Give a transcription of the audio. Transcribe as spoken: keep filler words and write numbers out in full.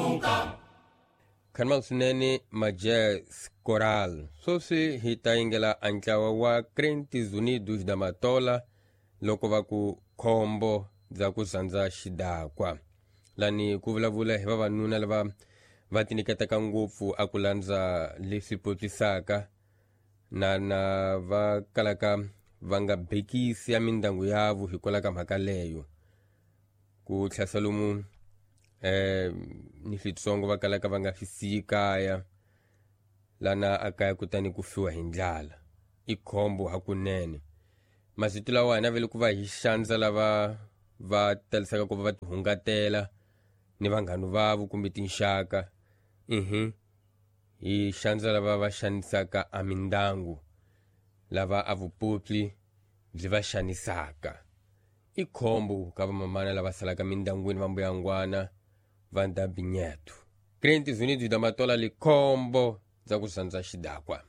Simuka. Khanima swinene Majazz Coral. Sweswi hi ta yingela a ntlawa wa Crentes Unidos da Matola loko va ku khombo bya ku sandza xidakwa. Lani ku vulavula hi vavanuna lava va tinyiketaka ngopfu a ku landza leswi potisaka na na va kalaka va nga bekisi ya mindyangu yavo hikwalaho ka mhaka leyo. Ku tlhasa lomu eh ni switsongo va kalaka va nga swi siyi kaya lana a kaya kutani ku fiwa hi ndlala i khombo hakunene. Masiku lawa hina vele ku va hi xandza lava va talisaka ku va va tihungatela ni vanghana vavo kumbe tinxaka mhm hi xandza lava va xanisaka a mindyangu lava a vupupli byi va xanisaka. I khombo ka vamamana lava salaka mindyangwini va mbuyangwana va ndabinyeto. Crentes Unidos da Matola likhombo bya ku sandza xidakwa.